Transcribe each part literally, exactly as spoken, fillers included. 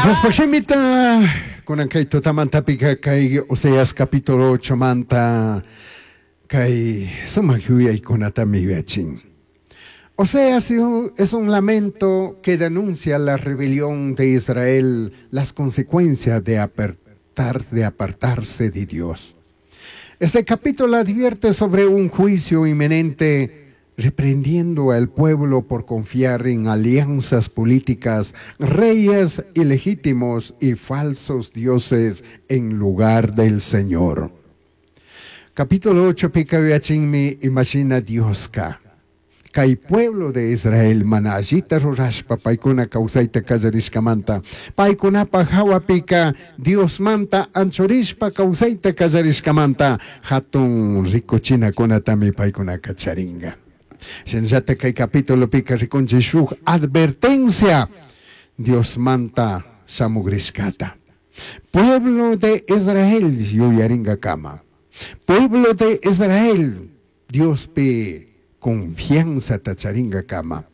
Diospaj kunan kay tutamantapika kay Oseas capítulo ocho manta kay sumak yuyaykunatami yuyachin. Oseas es un lamento que denuncia la rebelión de Israel, las consecuencias de apartar, de apartarse de Dios. Este capítulo advierte sobre un juicio inminente, reprendiendo al pueblo por confiar en alianzas políticas, reyes ilegítimos y falsos dioses en lugar del Señor. Capítulo ocho pika yuyachinmi imashina Dioska. Kay pueblo de Israel mana allita rurashpa paykuna kawsayta kallarishkamanta, paykunapaj hawapika Diosmanta anchurishpa kawsayta kallarishkamanta hatun rikuchinakunatami paykunaka charinga. Shinallata kay capítulo pika rikunchik shuk advertencia Diosmanta shamugrishkata. Pueblo de Israel yuyaringakama. Pueblo de Israel, Diospi confianza charingakama.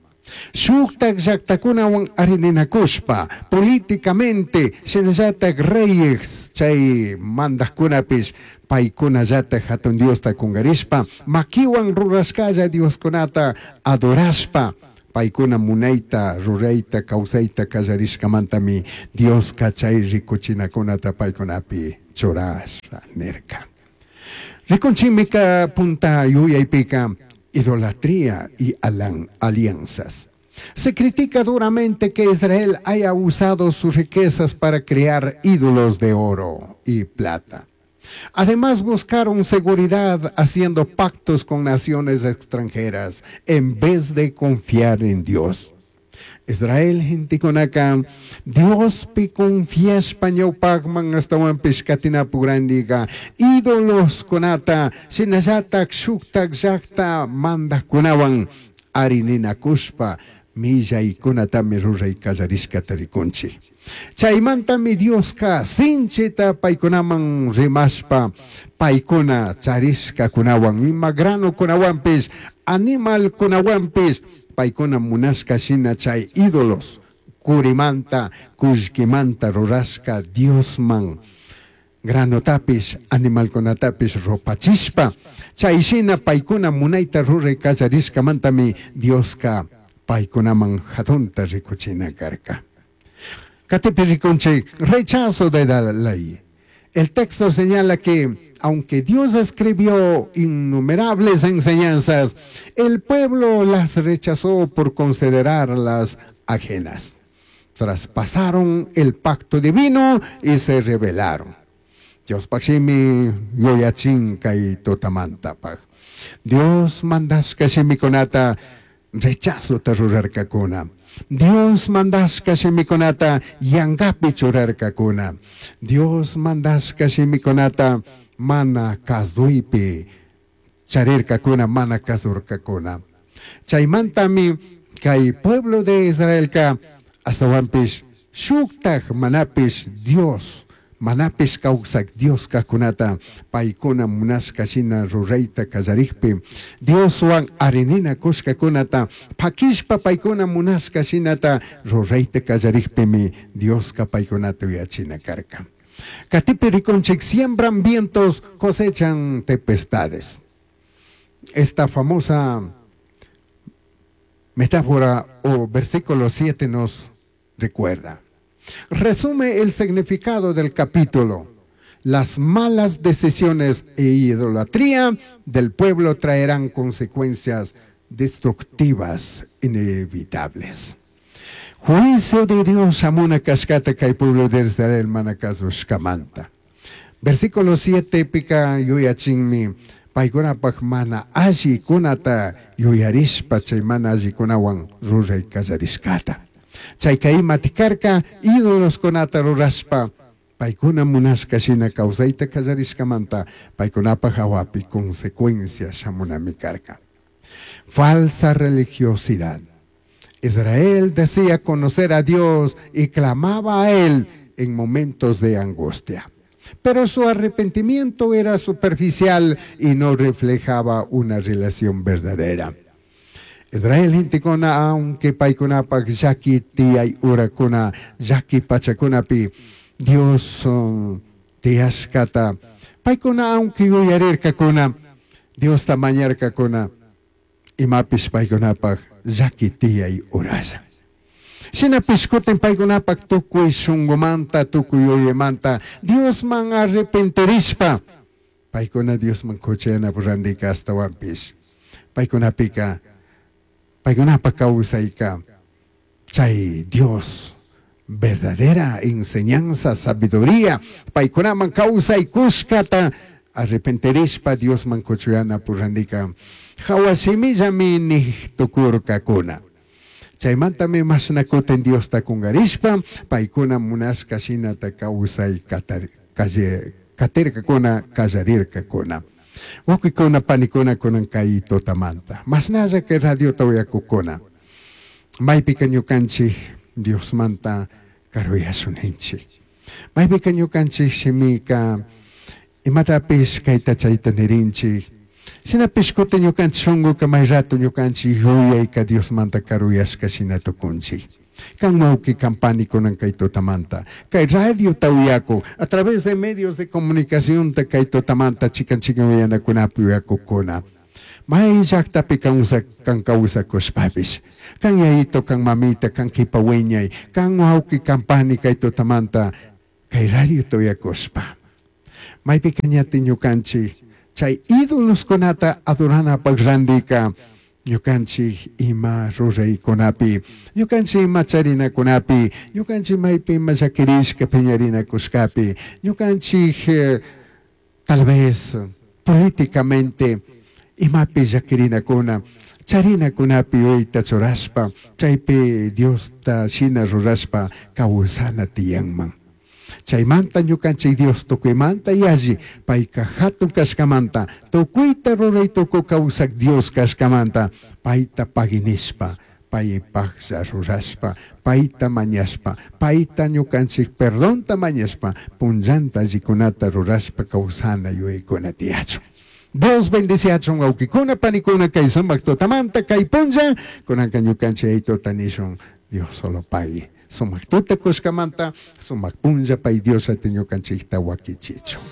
Shuktak llaktakunawan arininakushpa políticamente shinallatak reyes chay mandajkunapish paykunallatak hatun Diosta kungarishpa makiwan rurashkalla Dioskunata adorashpa paykuna munayta rurayta kawsayta kallarishkamantami Dioska chay rikuchinakunata paykunapi churasha nirka. Rikunchimika punta yuyaypika idolatría y alianzas. Se critica duramente que Israel haya usado sus riquezas para crear ídolos de oro y plata. Además, buscaron seguridad haciendo pactos con naciones extranjeras en vez de confiar en Dios. Israel gentekunaka Diospi confiashpa ñawpakman ashtawanpish katinapukrandiga ídolos kunata shinallatak shuktak llakta mandajkunawan arininakushpa millaykunatami ruray kallarishkata rikunchik. Chaymantami Dioska sinchita paykunaman rimashpa paykuna charishkakunawan ima granukunawanpish animalkunawanpish paykuna munashka shina chay ídolos kurimanta kullkimanta rurashka Diosman granutapish animalkunatapish rupachishpa chay shina paykuna munayta ruray kallarishkamantami Dioska paykunaman hatunta rikuchina karka. Katipi rikunchik rechazo de la ley. El texto señala que aunque Dios escribió innumerables enseñanzas, el pueblo las rechazó por considerarlas ajenas. Traspasaron el pacto divino y se rebelaron. Diospaj shimi yuyachin kay tutamantapaj. Dios mandashka shimikunata rechazota rurarkakuna. Dios mandashka shimikunata yangapi churarkakuna. Dios mandashka shimikunata mana kazuypi charirkakuna, mana kazurkakuna. Chaymantami kay pueblo de Israelka ashtawanpish shuktak manapish Dios manapish kawsak Dios kajkunata paykuna munashka shina rurayta kallarikpi Dioswan arininakushkakunata pakishpa paykuna munashka shinata rurayta kallarikpimi Dioska paykunata yuyachina karka. Katipi rikunchik siembran vientos, cosechan tempestades. Esta famosa metáfora o versículo siete nos recuerda. Resume el significado del capítulo. Las malas decisiones e idolatría del pueblo traerán consecuencias destructivas inevitables. Juicio de Dios shamuna kashkata kay pueblo de Israel mana kasushkamanta. Versículo siete pika yuyachinmi paykunapaj mana allikunata yuyarishpa chay mana allikunawan ruray kallarishkata. Chayka imati karka ídoloskunata rurashpa paykuna munashka shina kawsayta kallarishkamanta paykunapaj hawapi consecuencia shamunami karka. Falsa religiosidad. Israel decía conocer a Dios y clamaba a Él en momentos de angustia. Pero su arrepentimiento era superficial y no reflejaba una relación verdadera. Israel gentekuna aunque paykunapak llaki tiyay urakuna llaki pachakunapi Dios um, tiyashkata paykuna aunque yuyarirkakuna Diosta mañarkakuna imapish paykunapak llaki tiyay uralla. Shinapish kutin paykunapak tukuy shunkumanta tukuy yuyaymanta Diosman arrepentirishpa paykuna Diosman kuchayanapak randika ashtawanpish paykunapika paykunapak kawsayka chay Dios verdadera enseñanza sabiduría paykunaman kawsaykushkata arrepentirishpa Diosman kuchuyanapak randika hawa shimillami nik tukurkakuna. Chaymantami mashna kutin Diosta kungarishpa paykuna munashka shinata kawsay katirkakuna kallarirkakuna. Wawqikuna panikuna kunan kay tutamanta mashnalla kay radiota uyakukuna maypika ñukanchik Diosmanta karuyashunninchik maypika ñukanchik shimika imatapish kayta chayta nirinchik shinapish kutin ñukanchik shunkuka may rato ñukanchik yuyayka Diosmanta karuyashka shina tukunchik kan wawqi kan pani kunan kay tutamanta kay radiota uyaku a través de medios de comunicación ta kay tutamanta chikan chikan uyanakunapi uyakukuna may llaktapi kan kawsakushpapish kan yayito kan mamita kan kipa wiñay kan wawqi kan pani kay tutamanta kay radiota uyakushpa maypika ñati ñukanchik chay ídoloskunata adoranapak randika ñukanchik ima ruraykunapi ñukanchik ima charinakunapi ñukanchik maypi ima llakirishka piñarinakushkapi ñukanchik eh, tal vez políticamente imapi llakirinakuna charinakunapi yuyayta churashpa chaypi Diosta shina rurashpa kawsana tiyanman. Chaymanta ñukanchik Dios tukuymanta yalli payka hatun kashkamanta tukuyta ruray tuku kawsak Dios kashkamanta payta paginishpa paypaklla rurashpa payta mañashpa payta ñukanchik perdonta mañashpa punllanta allikunata rurashpa kawsana yuyaykuna tiyachun. Dios bendiciachun wawqikuna panikuna kay sumak tutamanta kay punlla kunanka ñukanchik aytuta nishun Dios solo pay sumak tuta kushkamanta sumak punlla pay Dios ati ñukanchikta wakichichun.